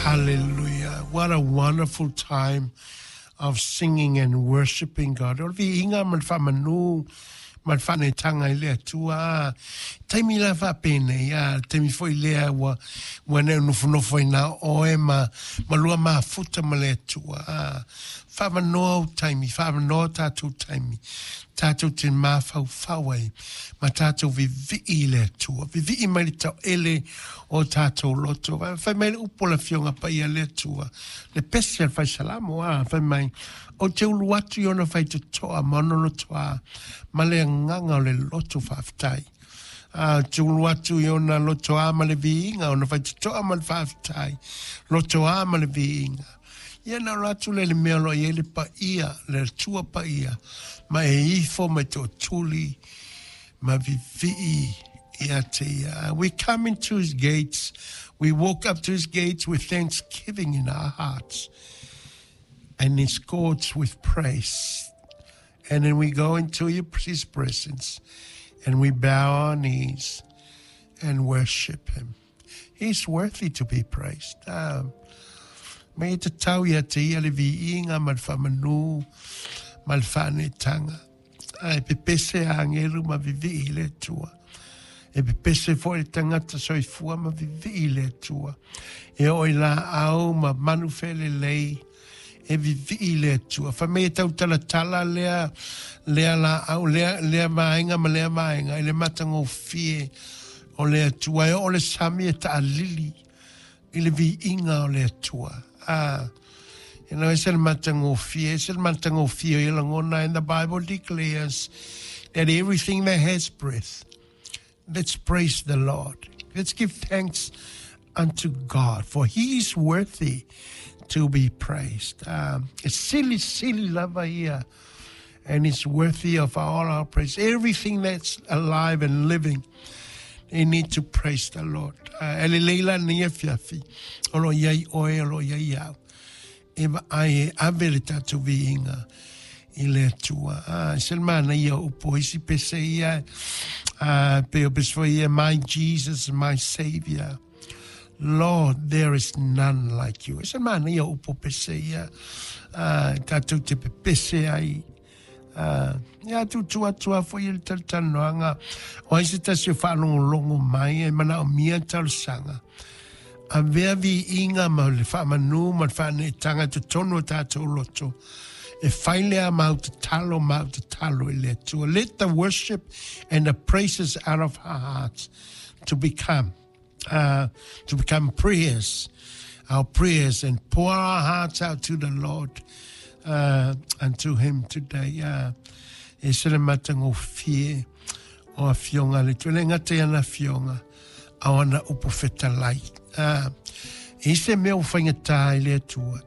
Hallelujah. What a wonderful time of singing and worshiping God. O le viiga ma le faamanu ma le faaneetaga i le Atua. Taimi la faapenei, a taimi foi lea ua ne nofonofo ai na oe ma lua mafuta ma le Atua. A faavanoa ou taimi, faavanoa tatou taimi, tatou te mafaufau ai ma tatou vivii i le Atua. Vivii mai le taoele o tatou loto. Fai mai le upu o le Afioga Paia le Atua. Le pese al fai salamo a fai mai ou te ulu atu i ona faitotoa ma ona lotoa ma le agaga o le loto faafetai. A te ulu atu i ona lotoa ma le viiga, ona faitotoa ma le faafetai. Lotoa ma le viiga. Ia na o atu le mea o lo o i ai le paia, le Atua paia, ma e ifo mai tootuli, ma vivii ia te ia. We come into his gates, we walk up to his gates with thanksgiving in our hearts, and his courts with praise. And then we go into his presence, and we bow our knees and worship him. He's worthy to be praised. Me te tau ia te ia le viiga ma le faamanu ma le faaneetaga. Ae pepese agelu ma vivii i le Atua. E pepese foi le tagata soifua ma vivii i le Atua. E oo i laau ma manu felelei e vivii i le Atua. Fai mai e tautalatala lea laau, lea vaega ma lea vaega i le matagofie o le Atua. E oo le sami e taalili i le viiga o le Atua. Ah, ese le matagofie, ese le matagofie o ia lagona. And the Bible declares that everything that has breath, let's praise the Lord. Let's give thanks unto God, for he is worthy to be praised. Sili sili lava ia, and it's worthy of all our praise. Everything that's alive and living, they need to praise the Lord. E lelei la lenei afiafi, o lo o i ai oe, o lo o i ai au. E vaai e ave le tatou viiga i le Atua. Ah, se le manaia o upu o isi pese ia, pe o pese foi ia, "My Jesus, my Savior. Lord, there is none like you." E se le manaia o upu o pese ia, tatou te pepese ai. Ia tutu atu a foi le talatalanoaga o ai se tasi o faalogologo mai e manaomia talosaga. Avea viiga ma le faamanu ma le faaneetaga i totonu o tatou loto. E fai lea mau tatalo, mau tatalo i le Atua. Let the worship and the praises out of our hearts to become prayers, our prayers, and pour our hearts out to the Lord, unto Him today. E se le matagofie o afioga le Atua. Le gata i ana afioga, a o ana upu fetalai. E se mea o faigata i le Atua.